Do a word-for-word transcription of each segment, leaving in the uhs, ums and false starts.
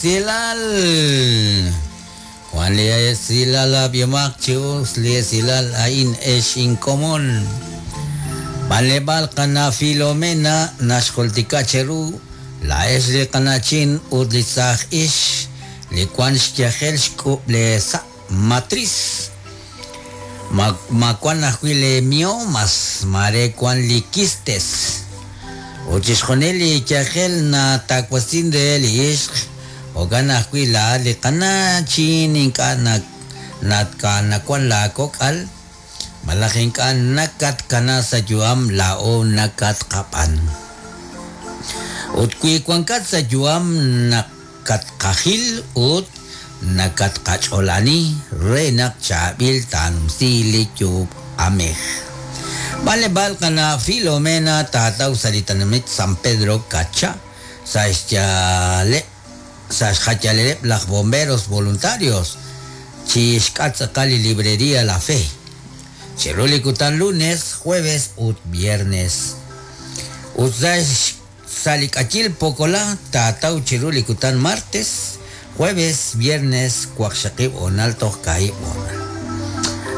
esilal. Wan li esilal ab'yomaq chi us li esilal a'in ex inkomon. B'anleb'aal qana Filomena naxjultika cheru la ex li qanachin ut li saaj ix li wan xyajel xk'ub' le sa' matriz. Ma, ma wan ajwi' le miomas, mare wan li quistes. Ut chixjunil li yajel natawasin re li ixq, jo'kan ajwi' la li qanachin ink'a' na natka nawan laakok'al, malaj ink'a' nakatkana sa' yu'am laa'o nakatqab'an. Ut wi wankat sa' yu'am nakatqajil ut nakatqach'olani re naq chaab'il taanumsi li yu'amej. B'anleb'aal qana Filomena taataw sa' li tenamit San Pedro Cacha sa' xyaaleb' sa' xjayaleb' laj bomberos voluntarios chi xk'at tz'aqal li librería La Fe. Chiru li kutan lunes, jueves ut viernes. Ut sa' sa' li k'ayil Pokola taataw chiru li kutan martes, jueves, viernes, waqxaqib' honal toj kaahib' honal.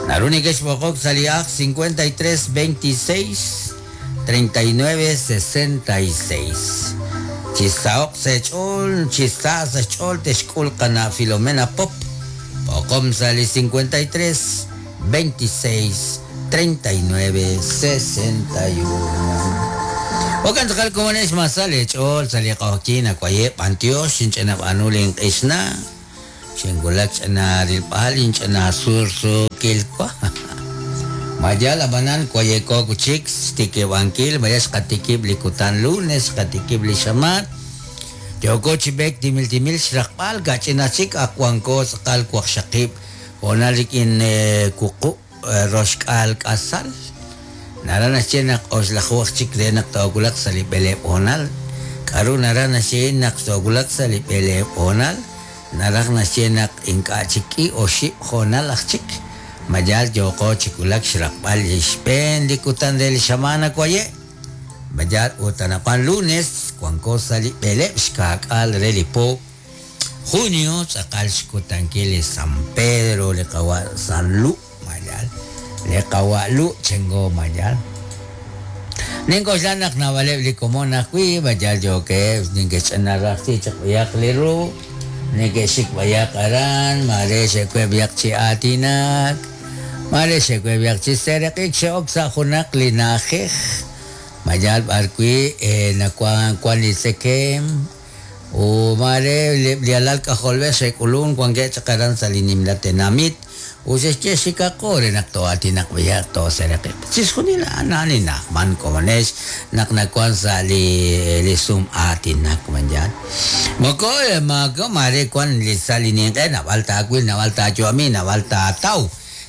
Naru nekexb'oqok sa' li aj cincuenta y tres veintiséis treinta y nueve sesenta y seis. Chisaoq sech'ol, chisa sech'ol texk'ul qana Filomena Pop. B'oqom sa' li cincuenta y tres veintiséis treinta y nueve sesenta y uno. Okan tz'aqal komonex masal ech'ol sa' li q'oqyin ak'wayeb' b'antiox xinch'inab'anu linq'ixna xinwulak ch'ina rilb'al inch'ina sursuukilwa. Mayal ab'anan kwayeko kuchik xtikib'ankil maya xqatikib' li kutan lunes xqatikib' li xamaat yoko chib'ek timil timil xraqb'al kach'ina chik aqwanko tz'aqal waqxaqib' honal rik'in wuqub' roxk'al k'asal. Nara naxye naq oxlajuj chik re naq toowulaq sa' li b'eleeb' honal. K'aru nara naxye naq toowulaq sa' li b'eleeb' honal, naraj naxye naq ink'a' chik k'i oxib' honal aj chik. Mayal yooqo chi wulak xraqb'al li xb'een li kutan re li xamaana waye'. Mayal ut anaqwan lunes wanko sa' li b'eleeb' xkaak'al re li po junio tz'aqal xkutankil li San Pedro li qawa' San Lu mayal li qawa' Lu chengo mayal. Nink'oxla naq naab'aleb' li komon ajwi' mayal yookeb' ninkexch'ina rajsi chaq b'ayaq li ru neke'xik b'ayaq aran mare xe'web' b'ayaq chi aatinak mare xe'web' b'ayaq chi sereq'ik xe'ok sa' junaq li na'ajej mayal b'arwi' nawan wan li tzekem u mare li alal k'ajolb'ej xe'k'ulun wankeb' chaq aran sa' li nimla tenamit u xexye xikaqo re naq to'aatinaq b'ayaq toosereq'ik. Chixjunil a'an a'an li na'ajman komonex naq nawan sa' li li sum aatinak mayal. Moko mako mare wan li sa' li ninq'e naab'al taawil naab'al taayu'ami naab'al taataw.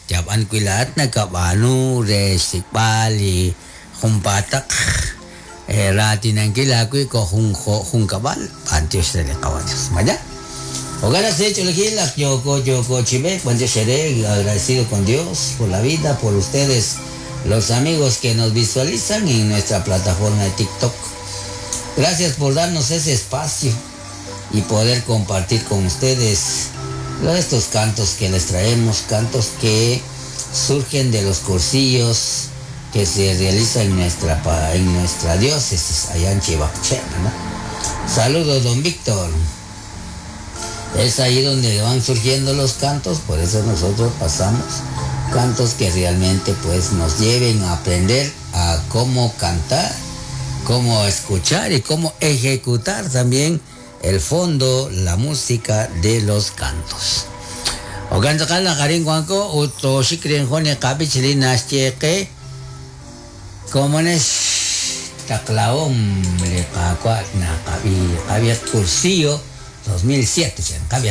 Yab'an wi laa'at nakab'aanu re xsik'b'al li junpaataq raatinankil aawib' ko jun jun kab'al b'antiox re li qawa Dios. Maya. Ojalá se hecho elegir la Yoko Yoko Chibek, buen día, agradecido con Dios por la vida, por ustedes, los amigos que nos visualizan en nuestra plataforma de TikTok. Gracias por darnos ese espacio y poder compartir con ustedes estos cantos que les traemos, cantos que surgen de los cursillos que se realizan en nuestra, en nuestra diócesis, allá en Chivapche, ¿verdad? Saludos, don Víctor. Es ahí donde van surgiendo los cantos, por eso nosotros pasamos cantos que realmente pues nos lleven a aprender a cómo cantar, cómo escuchar y cómo ejecutar también el fondo, la música de los cantos. Ogan tz'aqal naqarin wanko ut toxik rin jun li qab'ich li naxye qe komonex taqlahom li qaawa' naqab'i qab'i cursillo dos mil siete, chan qab'i.